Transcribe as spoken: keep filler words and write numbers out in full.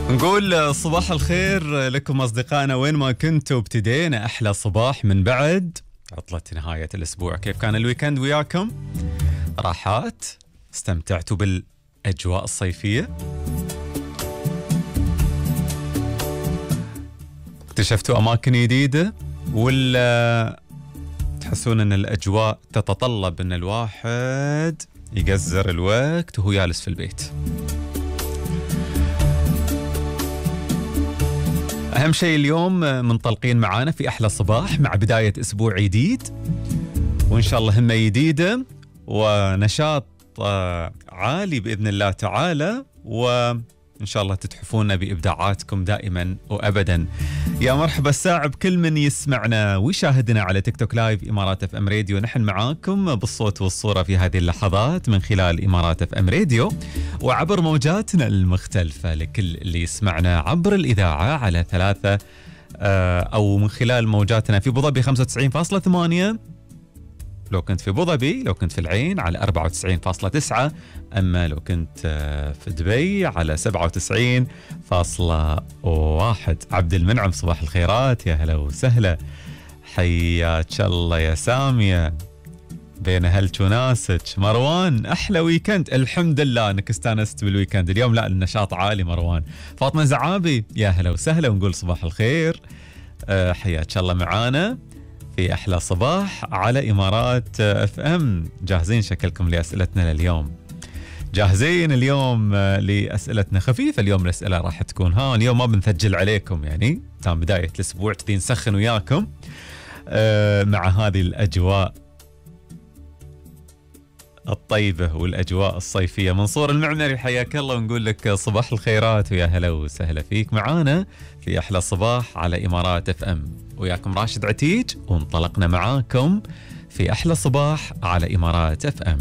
نقول صباح الخير لكم أصدقائنا وين ما كنتوا. ابتدينا أحلى صباح من بعد عطلة نهاية الأسبوع. كيف كان الويكند وياكم؟ راحات؟ استمتعتوا بالأجواء الصيفية؟ اكتشفتوا أماكن جديدة؟ ولا تحسون أن الأجواء تتطلب أن الواحد يقزر الوقت وهو جالس في البيت؟ أهم شيء اليوم منطلقين معانا في أحلى صباح مع بداية أسبوع جديد، وإن شاء الله همة جديدة ونشاط عالي بإذن الله تعالى، وإن شاء الله تتحفونا بإبداعاتكم دائما وأبدا. يا مرحبا الساعة بكل من يسمعنا ويشاهدنا على تيك توك لايف إمارات اف ام راديو. نحن معاكم بالصوت والصورة في هذه اللحظات من خلال إمارات اف ام راديو وعبر موجاتنا المختلفة لكل اللي يسمعنا عبر الإذاعة على ثلاثة أو من خلال موجاتنا في أبوظبي خمسة وتسعين فاصلة ثمانية، لو كنت في أبوظبي، لو كنت في العين على أربعة وتسعين فاصلة تسعة، أما لو كنت في دبي على سبعة وتسعين فاصلة واحد. عبد المنعم صباح الخيرات، يا هلا وسهلا، حياك الله يا سامية، بين هلك وناسك. مروان أحلى ويكند، الحمد لله أنك استانست بالويكند اليوم. لا النشاط عالي مروان. فاطمة زعابي يا هلا وسهلا ونقول صباح الخير، حياك الله معانا في أحلى صباح على إمارات اف ام. جاهزين شكلكم لأسئلتنا لليوم؟ جاهزين اليوم لأسئلتنا خفيفة اليوم. الأسئلة راح تكون ها اليوم ما بنثجل عليكم، يعني تام بداية الأسبوع تبي نسخن وياكم آه مع هذه الأجواء الطيبة والأجواء الصيفية. منصور المعمري حياك الله ونقول لك صباح الخيرات ويا هلا وسهلا فيك معانا في أحلى صباح على إمارات اف ام. وياكم راشد عتيج وانطلقنا معاكم في أحلى صباح على إمارات اف ام.